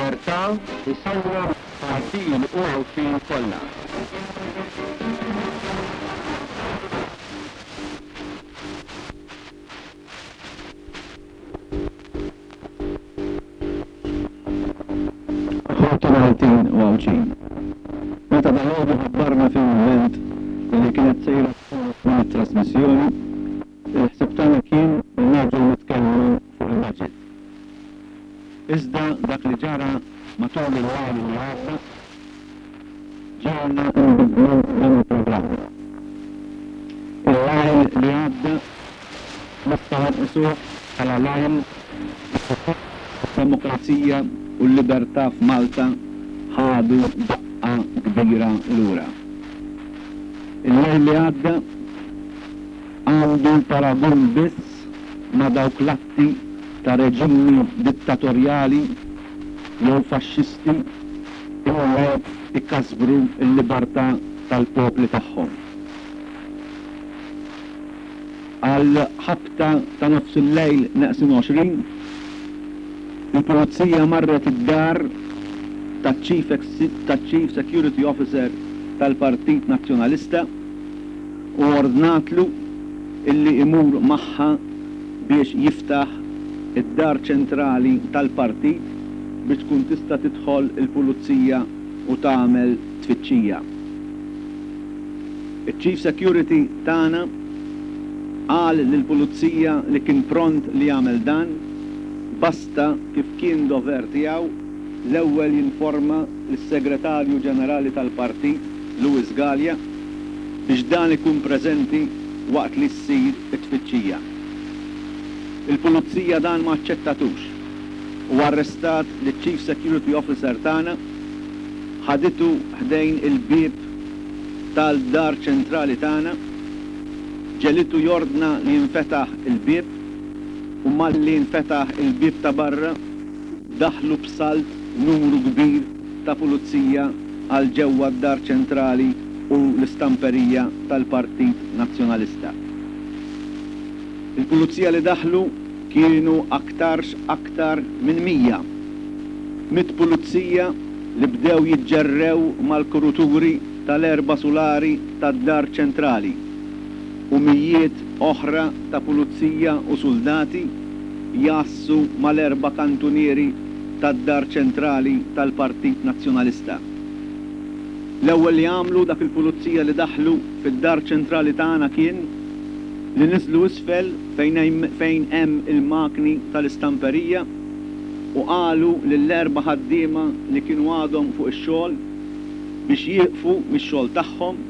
Il-libertà isawwar Maltin u Għawdxin kollha. Ħuti Maltin u Għawdxin, meta dalgħodu ħabbarna fil-mument li kienet sejra tkun din it-trasmissjoni, il-ħsieb tagħna kien li nerġgħu nitkellmu fuq il-budget. Iżda dak li ġara matul il-lejl li għadda ġegħelna nbiddlu dan il-programm. Il-lejl li għadda nistgħu nqisuh bħala lejl li fih id-demokrazija u l-libertà f'Malta ħadu daqqa kbira lura. Il-lejl li għadda għandu paragun biss ma' dawk l-atti ta' reġimi dittatorjali jew faxxisti illi jkasbru l-libertà tal-popli tagħhom. Għal ħabta ta' nofsillejl neqsin 20, il-Pulizija marret id-dar taċ-Chief Security Officer tal-Partit Nazzjonalista u ordnatlu illi imur magħha biex jiftaħ id-dar ċentrali tal-partit biex tkun tista' tidħol il-pulizija u tagħmel tfittxija. Iċ-Chief Security tagħna qal lill-pulizija li kien pront li jagħmel dan basta kif kien dover tiegħu l-ewwel jinforma lis-Segretarju Ġenerali tal-Partit Louis Galea biex dan ikun preżenti waqt li ssir it-tfittxija. Il-Pulizija dan ma aċċettatux u arrestat liċ-Chief Security Officer tagħna, ħaditu ħdejn il-bieb tal-dar ċentrali tagħna, ġegħlitu jordna li jinfetaħ il-bieb u malli nfetaħ il-bieb ta' barra daħlu b'salt numru kbir ta' pulizija għal ġewwa d-Dar Ċentrali u l-istamperija tal-Partit Nazzjonalista. Il-pulizija li daħlu kienu aktarx aktar minn 100. Mitt pulizija li bdew jiġġerrew mal-kuruturi tal-erba' sulari tad-Dar Ċentrali u mijiet oħra ta' pulizija u suldati jgħassu mal-erba' kantunieri tad-Dar Ċentrali tal-Partit Nazzjonalista. L-ewwel li għamlu dak il-pulizija li daħlu fid-Dar Ċentrali tagħna kien li niżlu isfel fejn fejn hemm il-makni tal-istamperija u qalu lill-erba' ħaddiema li kienu għadhom fuq ix-xogħol biex jieqfu mix-xogħol tagħhom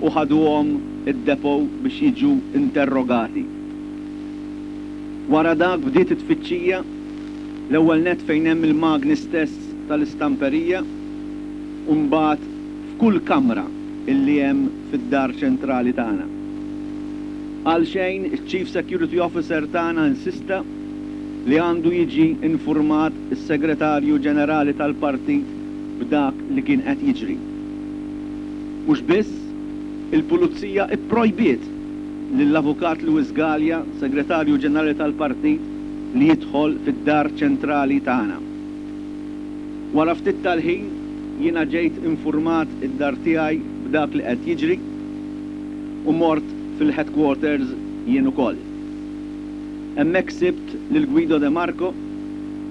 u ħaduhom id-depot biex jiġu interrogati. Wara dak bdiet it-tfittxija, l-ewwel nett fejn hemm il-magni stess tal-istamperija u mbagħad f'kull kamra illi hemm fid-Dar Ċentrali tagħna. Għalxejn iċ-Chief Security Officer tagħna insista li għandu jiġi infurmat is-Segretarju Ġenerali tal-Partit b'dak li kien qed jiġri. Mhux biss, il-Pulizija pprojbiet lill-Avukat Louis Galea, Segretarju Ġenerali tal-Partit, li jidħol fid-Dar Ċentrali tagħna. Wara ftit tal-ħin jiena ġejt infurmat id-dar tiegħi b'dak li qed jiġri u mort fil-headquarters jien ukoll. Hemmhekk sibt lil Guido De Marco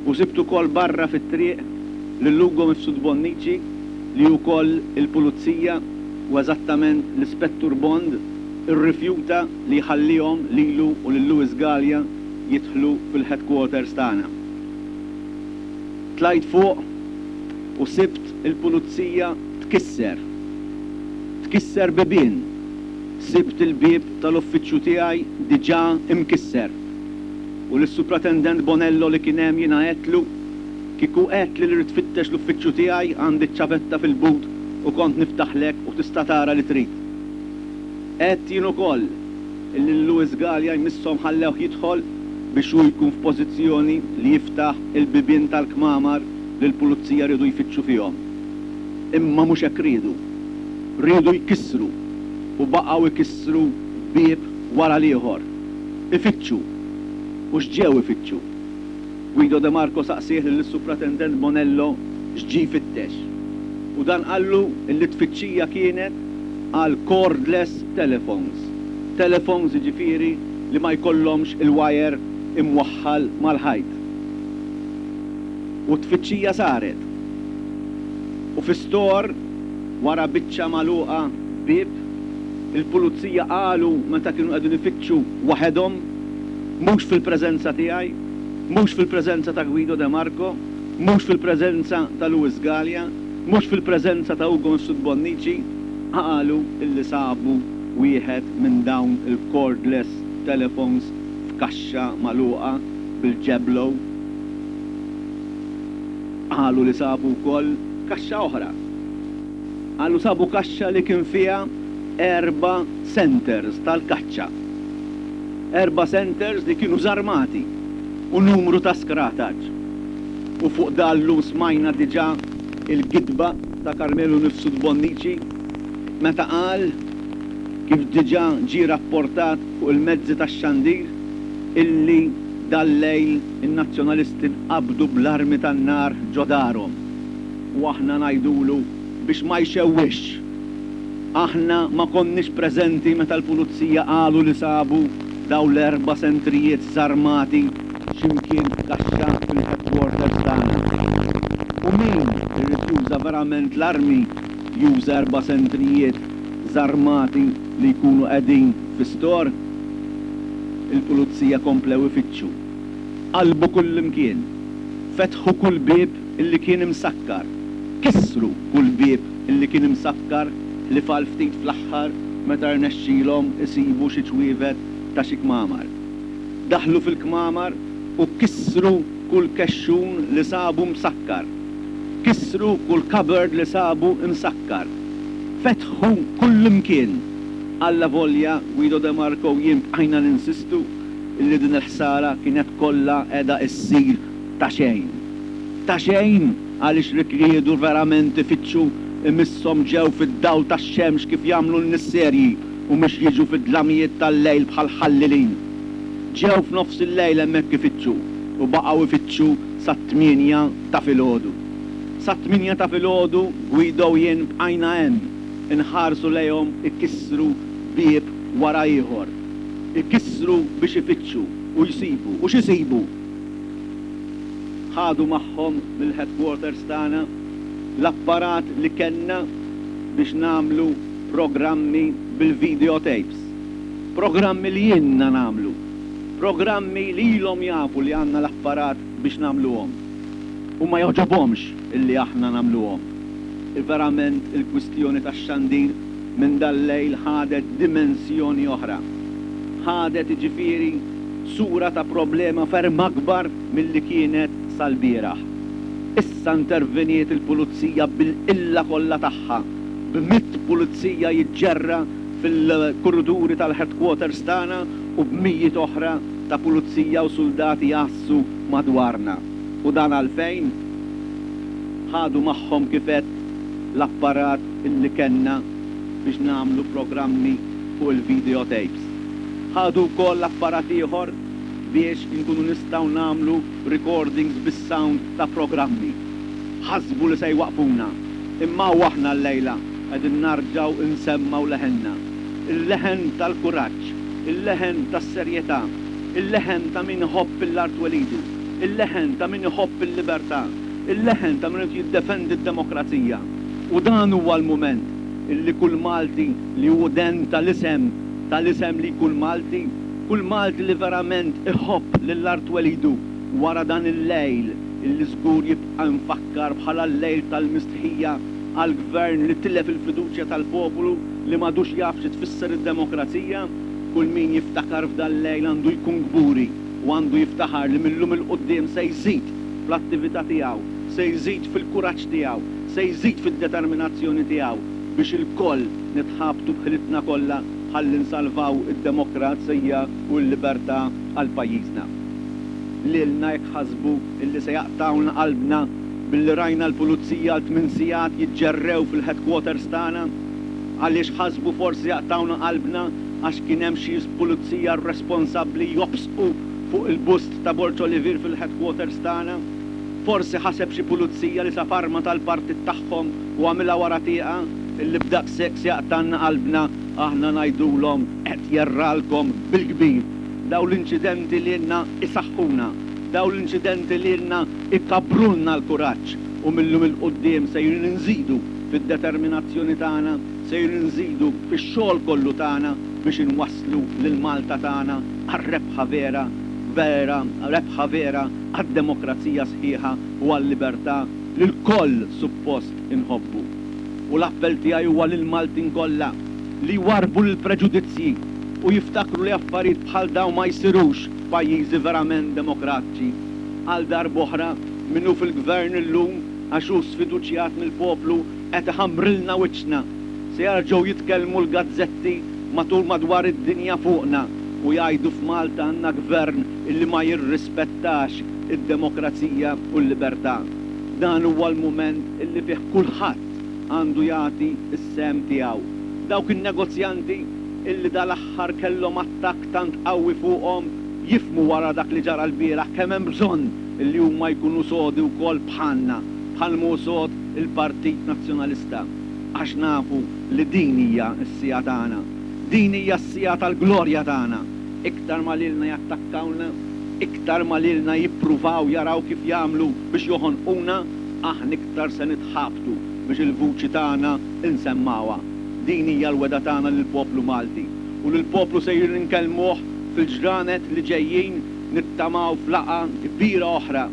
u sibt ukoll barra fit-triq lil Ugo Mifsud Bonnici li wkoll il-Pulizija u eżattament l-Ispettur Bond irrifjuta li jħallihom lilu u lil Louis Galea jidħlu fil-headquarters tagħna. Tlajt fuq u sibt il-pulizija tkisser. Tkisser bibien. Sibt il-bieb tal-uffiċċju tiegħi diġà imkisser. U lis-Supratendent Bonello li kien hemm jiena għedtlu, Kieku għedtli li rrid tfittex l-uffiċċju tiegħi għandi ċ-ċavetta fil-but u kont niftaħlek u tista' tara li trid. Għedt jien ukoll illi lil Louis Galea jmisshom ħallewh jidħol biex hu jkun f'pożizzjoni li jiftaħ il-bibien tal-kmamar li l-pulizija riedu jfittxu fihom. Imma mhux hekk riedu. Riedu jkissru u baqgħu jkissru bieb wara l-ieħor. Ifittxu. U x'ġew ifittxu? Guido De Marco saqsieh lill-Supratendent Bonello x'ġie jfittex u dan qallu illi t-tfittxija kienet għal cordless telephones, telephones jiġifieri li ma jkollhomx il-wire imwaħħal mal-ħajt. U t-tfittxija saret. U fi store, wara biċċa magħluqa b'bieb, il-pulizija qalu meta kienu qegħdin ifittxu waħedhom, mhux fil-preżenza tiegħi, mhux fil-preżenza ta' Guido De Marco, mhux fil-preżenza ta' Louis Galea, mhux fil-preżenza ta' Ugo Mifsud Bonnici, qalu illi sabu wieħed minn dawn il-cordless telephones f'kaxxa magħluqa bil-ġeblo. Qalu li sabu wkoll kaxxa oħra. Qalu sabu kaxxa li kien fiha erba' centers tal-kaċċa. Erba' centers li kienu żarmati u numru ta' skrataċ. U fuq dan llum smajna diġà il-gidba ta' Carmelo Mifsud Bonnici meta qal, kif diġà ġie rapportat fuq il-mezzi tax-xandir, illi dal-lejl in-Nazzjonalisti nqabdu bl-armi tan-nar ġo darhom. U aħna ngħidulu biex ma jxewwixx. Aħna ma konniex preżenti meta l-Pulizija qalu li sabu dawn l-erba' sentrijiet żarmati xi mkien f'kaxxa fil-headquarters tagħna. U min irid juża verament l-armi juża erba' sentrijiet żarmati li jkunu qegħdin fi store? Il-Pulizija komplew ifittxu. Qallbu kullimkien. Fetħu kull bieb illi kien imsakkar. Kissru kull bieb illi kien imsakkar ħlief għal ftit fl-aħħar meta rnexxilhom isibu xi ċwievet ta' xi kmamar. Daħlu fil-kmamar u kissru kull kexxun li sabu msakkar. Kissru kull cupboard li sabu msakkar. Fetħu kullimkien. Allavolja Guido De Marco u jien bqajna ninsistu illi din il-ħsara kienet kollha qiegħda issir ta' xejn. Ta' xejn għaliex li riedu verament ifittxu imisshom ġew fid-dawl tax-xemx kif jagħmlu n-nies serji u mhux jiġu fid-dlamijiet tal-lejl bħal ħallelin. Ġew f'nofs il-lejl hemmhekk ifittxu u baqgħu ifittxu sat-tmienja ta' filgħodu. Sat-tmienja ta' filgħodu Guido u jien bqajna hemm inħarsu lejhom ikissru bieb wara ieħor. Ikissru biex ifittxu u jsibu. U x'isibu? Ħadu magħhom mill-headquarters tagħna l-apparat li kellna biex nagħmlu programmi bil-video tapes. Programmi li ilna nagħmlu. Programmi li ilhom jafu li għandna l-apparat biex nagħmluhom. U ma jogħġobhomx illi aħna nagħmluhom. Verament il-kwistjoni tax-xandir minn dal-lejl ħadet dimensjoni oħra. Ħadet jiġifieri sura ta' problema ferm akbar milli kienet sal-bieraħ. Issa interveniet il-pulizija bil-qilla kollha tagħha, b'mitt pulizija jiġġerra fil-kurriduri tal-headquarters tagħna u b'mijiet oħra ta' pulizija u suldati jgħassu madwarna. U dan għalfejn? Ħadu magħhom kif għedt l-apparat illi kellna biex nagħmlu programmi fuq il-video tapes. Ħadu wkoll apparat ieħor biex inkunu nistgħu nagħmlu recordings bis-sound ta' programmi. Ħasbu li se jwaqqfuna, imma hawn aħna llejla qegħdin narġgħu nsemmgħu leħenna. Il-leħen tal-kuraġġ, il-leħen tas-serjetà, il-leħen ta' min iħobb 'l art twelidu, il-leħen ta' min iħobb il-libertà, il-leħen ta' min irid jiddefendi d-demokrazija. U dan huwa l-mument illi kull Malti li hu den tal-isem tal-isem li jkun Malti, kull Malti li verament iħobb lil art twelidu wara dan il-lejl illi żgur jibqa' imfakkar bħala l-lejl tal-mistħija għal Gvern li tilef il-fiduċja tal-popolu li m'għadux jaf xi tfisser id-demokrazija, kull min jiftakar f'dal-lejl għandu jkun kburi u għandu jiftaħar li mil-lum 'il quddiem se jżid fl-attività tiegħu, se jżid fil-kuraġġ tiegħu, se jżid fid-determinazzjoni tiegħu biex ilkoll nitħabtu b'ħilitna kollha ħalli nsalvaw id-demokrazija u l-libertà għal pajjiżna. Lilna jekk ħasbu illi se jaqtgħulna qalbna billi rajna l-pulizija għal tminn sigħat jiġġerrew fil-headquarters tagħna? Għaliex ħasbu forsi jaqtgħulna qalbna għax kien hemm xi pulizija rresponsabbli jobsqu fuq il-bust ta' Borg Olivier fil-headquarters tagħna? Forsi ħaseb xi pulizija li sab arma tal-partit tagħhom u għamilha wara tieqa? Illi b'daqshekk se jaqtgħalna qalbna, aħna ngħidulhom qed jerralkom bil-kbir. Dawn l-inċidenti lilna isaħħuna, dawn l-inċidenti lilna ikabbrulna l-kuraġġ u mil-lum 'il quddiem sejrin inżidu fid-determinazzjoni tagħna, sejrin inżidu fix-xogħol kollu tagħna biex inwasslu lil Malta tagħna għar-rebħa vera, vera, rebħa vera għad-demokrazija sħiħa u għal-libertà li lkoll suppost inħobbu. U l-appell tiegħi huwa lill-Maltin kollha li jwarrbu l-preġudizzji u jiftakru li affarijiet bħal dawn ma jsirux f'pajjiżi verament demokratċi. Għal darb'oħra, min hu fil-Gvern illum għax hu sfiduċjat mill-poplu qed iħammrilna wiċċna. Se jarġgħu jitkellmu l-gazzetti matul madwar id-dinja fuqna u jgħidu f'Malta għandna Gvern illi ma jirrispettax id-demokrazija u l-libertà. Dan huwa l-mument illi fih kulħadd għandu jagħti s-sehem tiegħu. Dawk in-negozjanti illi dal-aħħar kellhom attakk tant qawwi fuqhom jifhmu wara dak li ġara lbieraħ kemm hemm bżonn illi huma jkunu sodi wkoll bħalna, bħal m'hu sod il-Partit Nazzjonalista. Għax nafu li din hija s-siegħa tagħna. Din hija s-siegħa tal-glorja tagħna. Iktar ma lilna jattakkawna, iktar ma lilna jippruvaw jaraw kif jagħmlu biex joħonquna, aħna iktar se nitħabtu biex il-vuċi tagħna nsemmgħuha. Din hija l-wegħda tagħna lill-poplu Malti. U lill-poplu sejrin inkellmuh fil-ġranet li ġejjin, nittamaw f'laqgħa kbira oħra,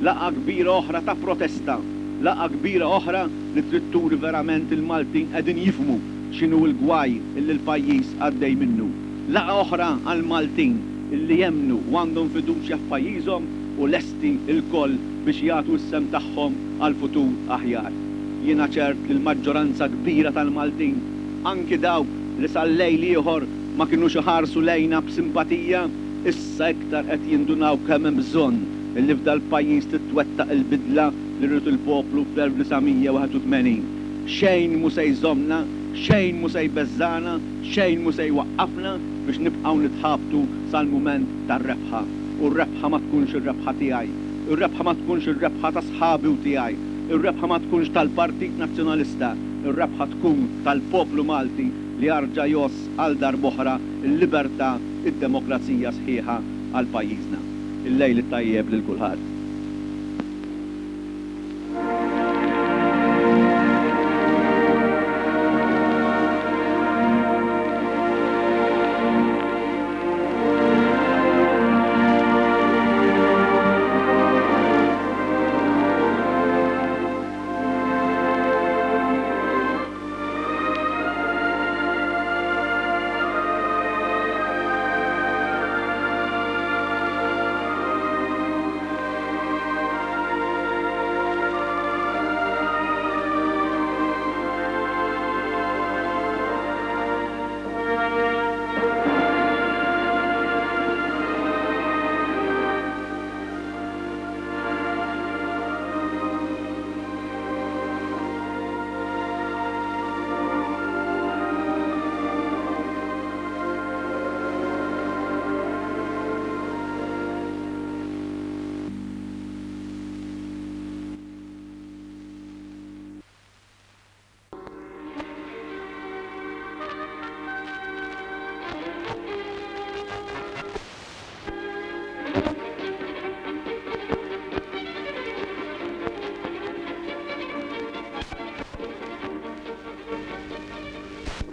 laqgħa kbira oħra ta' protesta, laqgħa kbira oħra li trid turi verament il-Maltin qegħdin jifhmu x'inhu l-gwaj illi l-pajjiż għaddej minnu. Laqgħa oħra għall-Maltin illi jemmnu u għandhom fiduċja f'pajjiżhom u lesti lkoll biex jagħtu s-sehem tagħhom għal futur aħjar. Jiena ċert li l-maġġoranza kbira tal-Maltin, anki dawk li sal-lejl ieħor ma kinux iħarsu lejna b'simpatija, issa iktar qed jindunaw kemm hemm bżonn illi f'dal-pajjiż titwettaq il-bidla li ried il-poplu fl-1981. Xejn mhu se jżommna, xejn mhu se jbeżżagħna, xejn mhu se jwaqqafna biex nibqgħu nitħabtu sal-mument tar-rebħa. U r-rebħa ma tkunx ir-rebħa tiegħi. Ir-rebħa ma tkunx ir-rebħa ta' sħabi u tiegħi. Ir-rebħa ma tkunx tal-Partit Nazzjonalista. Ir-rebħa tkun tal-poplu Malti li jarġa' jgħożż għal darb'oħra l-libertà, id-demokrazija sħiħa għal pajjiżna. Il-lejl it-tajjeb lil kulħadd.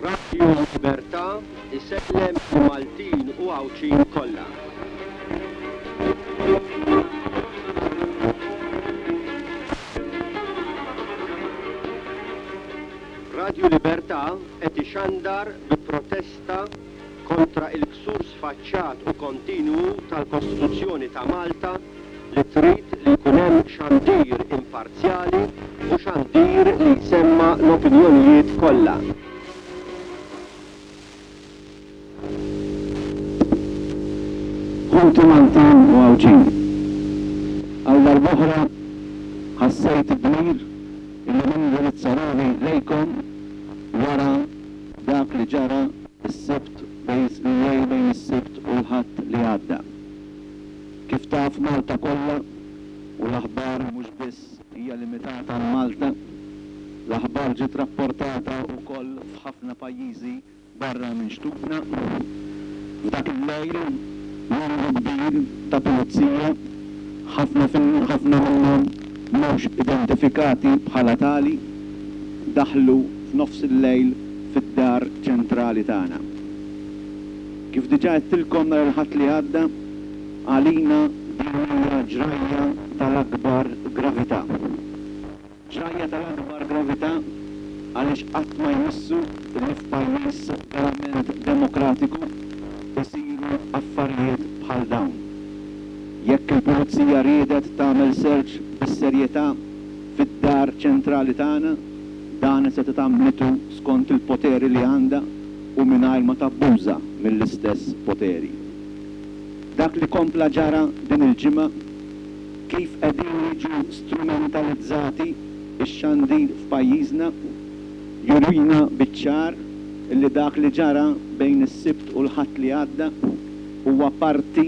Radio Libertà isellem lill-Maltin u Għawdxin kollha. Radio Libertà qed ixandar bi protesta kontra il-ksur sfaċċat u kontinwu tal-Kostituzzjoni ta' Malta li trid li jkun hemm xandir imparzjali u xandir li jsemma' l-opinjonijiet kollha. Ħuti Maltin u Għawdxin, għal darb'oħra ħassejt id-dmir illi nindirizza ruħi lejkom wara dak li ġara s-Sibt bejn il-lejl bejn is-Sibt u l-Ħadd li għadda. pajjiżi barra minn xtutna. F'dak il-lejl, numru kbir ta' pulizija, ħafna ħafna minnhom mhux identifikati bħala tali, daħlu f'nofs il-lejl fid-dar ċentrali tagħna. Kif diġà għedtilkom nhar il-Ħadd li għadda, għalina din hija ġrajja tal-akbar gravità. Ġrajja tal-akbar gravità għaliex qatt ma jmissu li f'pajjiż verament demokratiku isiru affarijiet bħal dawn. Jekk il-Pulizija riedet tagħmel search bis-serjetà fid-dar ċentrali tagħna, dan setgħet għamlitu skont il-poteri li għandha u mingħajr ma tabbuża mill-istess poteri. Dak li kompla ġara din il-ġimgħa, Kif qegħdin jiġu strumentalizzati x-xandir f'pajjiżna jurina biċ-ċar li dak li ġara bejn is-Sibt u l-Ħadd li għadda huwa parti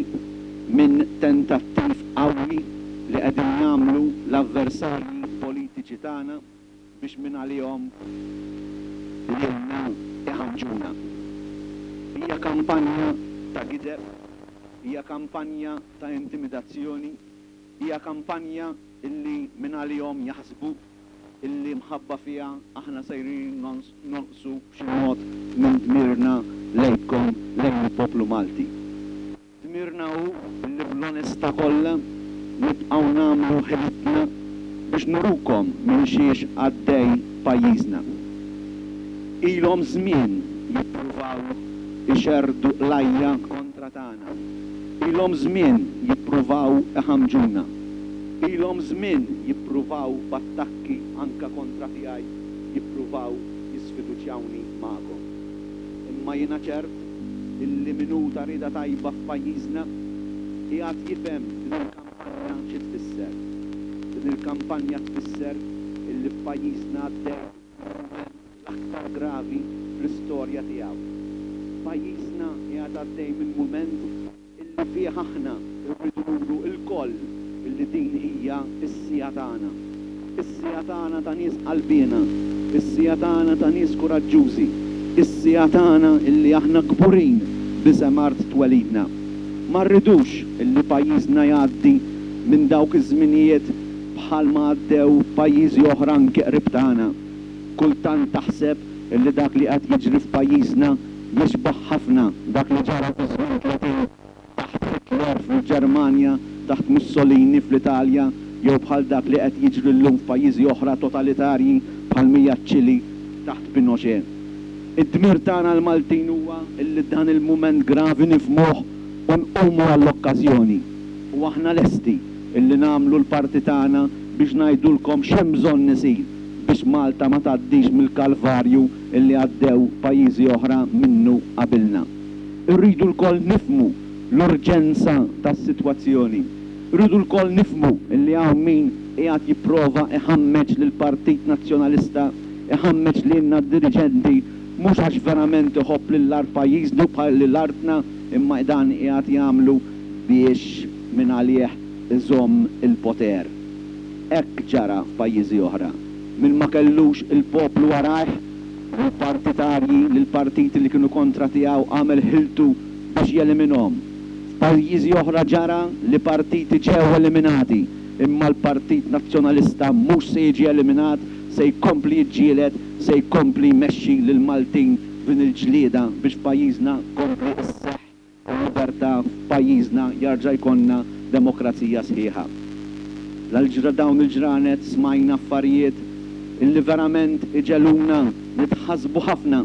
minn tentattiv qawwi li qegħdin jagħmlu l-avversarji politiċi tagħna biex mingħalihom lilna iħammġuna. Hija kampanja ta' gideb, hija kampanja ta' intimidazzjoni, hija kampanja illi mingħalihom jaħsbu illi mħabba fiha aħna sejrin nonqsu b'xi mod minn dmirna lejkom, lejn il-poplu Malti. Dmirna hu li bl-onestà kollha nibqgħu nagħmlu ħilitna biex nurukom minn xiex għaddej pajjiżna. Ilhom żmien jippruvaw ixerrdu qlajja kontra tagħna. Ilhom żmien jippruvaw iħammġuna. Ilhom żmien jippruvaw b'attakki anke kontra tiegħi jippruvaw jisfiduċjawni magħkom. Imma jiena ċert illi min hu ta' rieda tajba f'pajjiżna qiegħed jifhem din il-kampanja xi tfisser. Din il-kampanja tfisser illi f'pajjiżna għaddej il-mument l-aktar gravi fl-istorja tiegħu. Pajjiżna qiegħed għaddej minn mument illi fih aħna rridu nuru lkoll illi din hija s-siegħa tagħna. Is-siegħa tagħna ta' nies qalbiena, is-siegħa tagħna ta' nies kuraġġużi, is-siegħa tagħna illi aħna kburin b'isem art twelidna. Ma rridux illi pajjiżna jgħaddi minn dawk iż-żminijiet bħal ma għaddew pajjiżi oħra anki qrib tagħna. Kultant taħseb illi dak li qed jiġri f'pajjiżna jixbah ħafna dak li ġara fi żmien 30 taħt Hitler fil-Ġermanja, taħt Mussolini fl-Italja jew bħal dak li qed jiġri llum f'pajjiżi oħra totalitarji bħal m'hija ċ-Ċili taħt Pinochet. Id-dmir tagħna l-Maltin huwa illi dan il-mument gravi nifhmuh u nqumu għall-okkażjoni. U aħna lesti illi nagħmlu l-parti tagħna biex ngħidulkom x'hemm bżonn isir biex Malta ma tgħaddix mill-kalvarju li għaddew pajjiżi oħra minnu qabilna. Irridu lkoll nifhmu l-urġenza tas-sitwazzjoni. Irridu lkoll nifhmu li hawn min qiegħed jipprova iħammeġ lill-Partit Nazzjonalista, iħammeġ lilna d-diriġenti mhux għax verament iħobb lil art pajjiżnu bħal lil artna imma dan qiegħed jagħmlu biex mingħalih iżomm il-poter. Hekk ġara f'pajjiżi oħra. Min ma kellux il-poplu warajh, lill-partitarji, lill-partiti li kienu kontra tiegħu għamel ħiltu biex jeliminhom. F'pajjiżi oħra ġara li partiti ġew eliminati, imma l-Partit Nazzjonalista mhux se jiġi eliminat, se jkompli jiġġieled, se jkompli jmexxi lill-Maltin f'din il-ġlieda biex f'pajjiżna tkompli sseħħ il-libertà f'pajjiżna jarġa' jkollna demokrazija sħiħa. L Dawn il-ġranet smajna affarijiet illi verament iġegħluna nitħassbu ħafna.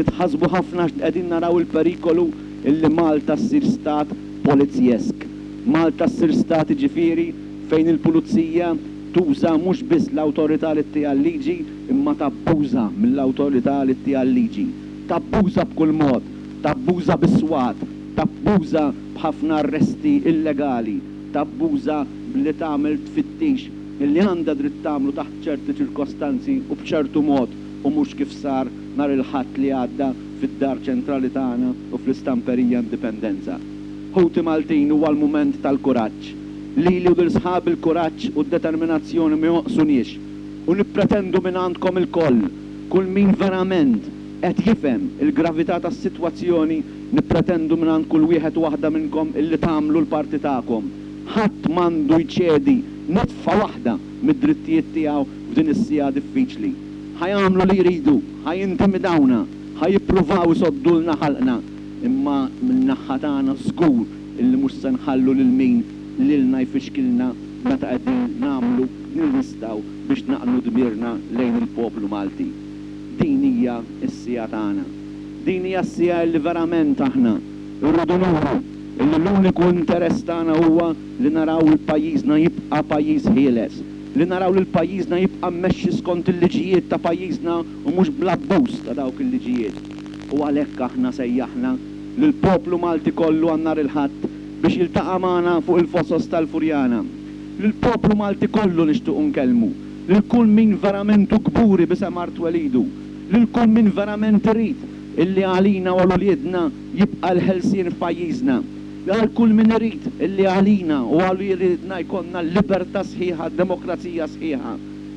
Nitħassbu ħafna għax qegħdin naraw il-perikolu illi Malta ssir stat polizjesk. Malta ssir stat jiġifieri fejn il-pulizija tuża mhux biss l-awtorità li ttiha l-liġi imma tabbuża mill-awtorità li ttiha l-liġi. Tabbuża b'kull mod. Tabbuża bis-swat, tabbuża b'ħafna arresti illegali, tabbuża b'li tagħmel tfittix li għandha dritt tagħmlu taħt ċerti ċirkostanzi u b'ċertu mod u mhux kif sar nhar il-Ħadd li għadda fid-Dar Ċentrali tagħna u fl-Istamperija Indipendenza. Ħuti Maltin huwa l-mument tal-kuraġġ. Lili u lil sħabi l-kuraġġ u d-determinazzjoni ma jonqsuniex u nippretendu mingħandkom ilkoll, kull min verament. qed jifhem il-gravità tas-sitwazzjoni, nippretendu mingħand kull wieħed u waħda minnkom illi tagħmlu l-parti tagħkom. Ħadd m'għandu jċedi nitfa waħda mid-drittijiet tiegħu f'din is-siegħa diffiċli. Ħa jagħmlu li jridu, ħa jintimidawna, ħa jippruvaw isoddulna ħalqna, imma min-naħha tagħna żgur illi mhux se nħallu lil min lilna jfixkilna meta qegħdin nagħmlu li nistgħu biex naqnu dmirna lejn il-poplu Malti. Din hija s-siegħa tagħna. Din hija s-siegħa illi verament aħna rridu nuru illi l-uniku interess tagħna huwa li naraw 'l pajjiżna jibqa' pajjiż ħieles, li naraw lil pajjiżna jibqa' mmexxi skont il-liġijiet ta' pajjiżna u mhux bl-abbuż ta' dawk il-liġijiet. U għalhekk aħna sejjaħna lill-poplu Malti kollu għal nhar il-Ħadd biex jiltaqa' magħna fuq il-Fosos tal-Furjana. Lill-poplu Malti kollu nixtiequ nkellmu, lil kull min verament hu kburi b'isem art twelidu, lil kull min verament irid illi għalina u għal uliedna jibqa' l-ħelsien f'pajjiżna, għal kull min irid illi għalina u għal uliedna jkollna libertà sħiħa, demokrazija sħiħa.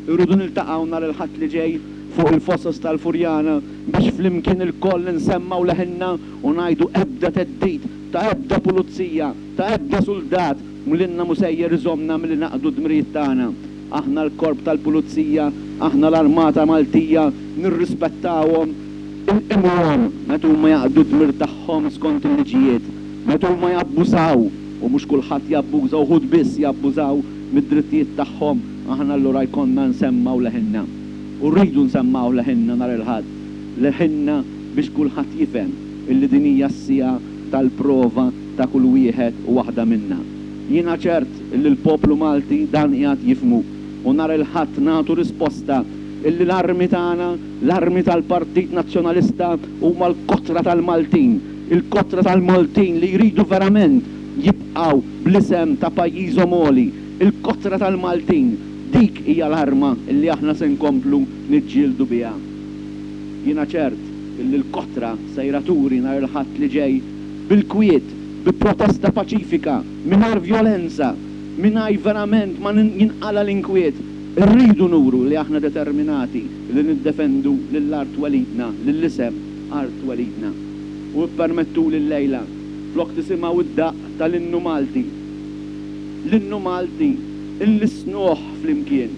Irridu niltaqgħu nhar il-Ħadd li ġej fuq il-Fosos tal-Furjana biex flimkien ilkoll insemmgħu leħinna u ngħidu ebda theddid ta' ebda pulizija, ta' ebda suldat lilna mhu sejjer iżommna milli naqdu d-dmirijiet tagħna. Aħna l-Korp tal-Pulizija, aħna l-Armata Maltija nirrispettawhom, inqimuhom meta huma jaqdu d-dmir tagħhom skont il-liġijiet. Meta huma jabbużaw, u mhux kulħadd jabbuża, uħud biss jabbużaw mid-drittijiet tagħhom, aħna allura jkollna nsemmgħu leħinna. U rridu nsemmgħu leħinna nhar il-Ħadd, leħinna biex kulħadd jifhem illi din hija s-siegħa tal-prova ta' kull wieħed u waħda minna. Jiena ċert illi l-poplu Malti dan qiegħed jifhmu u nhar il-Ħadd nagħtu risposta illi l-armi tagħna, l-armi tal-Partit Nazzjonalista huma l-kotra tal-Maltin, il-kotra tal-Maltin li jridu verament jibqgħu bl-isem ta' pajjiżhom għoli, il-kotra tal-Maltin, dik hija l-arma illi aħna se nkomplu niġġieldu biha. Jiena ċert illi l-kotra sejra turi nhar il-Ħadd li ġej bil-kwiet, bi protesta paċifika, mingħajr vjolenza, mingħajr verament ma jinqala' l-inkwiet, irridu nuru li aħna determinati li niddefendu lil art twelidna, lill-isem art twelidna. U ippermettuli llejla, flok tisimgħu d-daqq tal-Innu Malti, l-Innu Malti nlissnuh flimkien.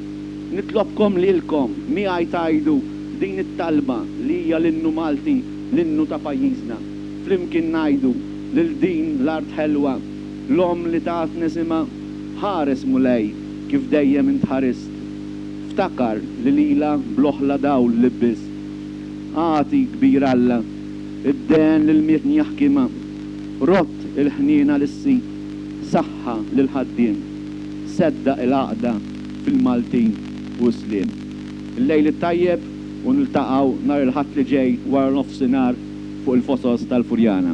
Nitlobkom lilkom miegħi tgħidu din it-talba li hija l-Innu Malti, l-Innu ta' pajjiżna. Flimkien ngħidu lil din l-art ħelwa, l-omm li tatni isimha, Ħares Mulej kif dejjem int ħarist. Ftakar li lilha bl-oħla dawl libbist. Agħti, kbir Alla, id-dehen lil min jaħkimha. Rodd il-ħniena lis-sid, saħħa lill-ħaddiem. Seddaq il-għaqda fil-Maltin u s-sliem. Il-lejl it-tajjeb u niltaqgħu nhar il-Ħadd li ġej wara nofsinhar fuq il-Fosos tal-Furjana.